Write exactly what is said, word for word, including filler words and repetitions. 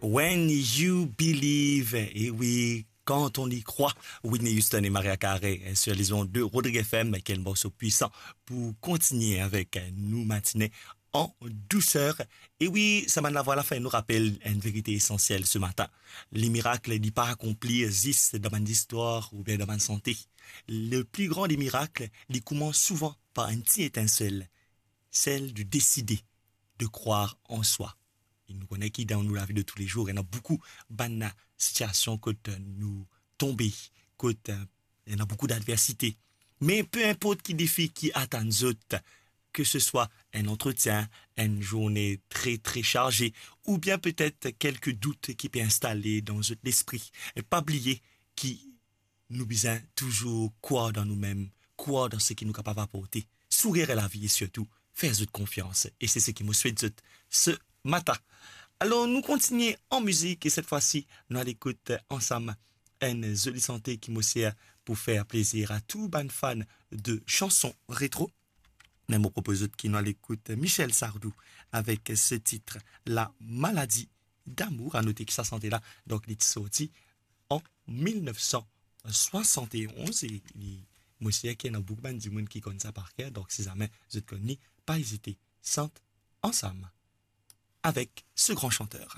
When You Believe, et oui, quand on y croit, Whitney Houston et Mariah Carey, euh, sur les ondes de Rodrigue F M, quel morceau puissant pour continuer avec, euh, nou matinée en douceur. Et oui, sa bann lavwa la fer nou rapel une vérité essentielle ce matin. Les miracles n'est pas accompli juste dans une histoire ou bien dans une santé. Le plus grand des miracles, il commence souvent par une petite étincelle, celle de décider de croire en soi. E nou kone ki dan nou lavi de tous les jours, ena boukou bann sitiasion kot nou tonbe, kot, euh, ena boukou d'adversité. Me pe inport ki defi ki atann zot, que ce soit un entretien, une journée très, très chargée, ou bien peut-être quelques doutes ki pe instale dan zot lespri, pa bliye ki nou bizin touzour krwar dan noumem, krwar dan seki nou kapav aporte, sourir a lavi e sirtou fer zot konfians. E se seki mo swet zot se matin. Alor, nou kontinie an mizik e set fwa si, nou al ekout ansam enn zoli sante ki mo sir pou fer plezir a tou bann fan de chanson retro. Me mo propoz zot ki nou al ekout Michel Sardou avek se tit La Maladie d'amour. A note ki sa sante la, donk, li ti sorti an mil nef san swasant e onz e li, mo sir ki ena boukou bann dimoun ki konn sa par ker, donk si zame zot konn li, pa ezite, sant ansam avek se gran santer.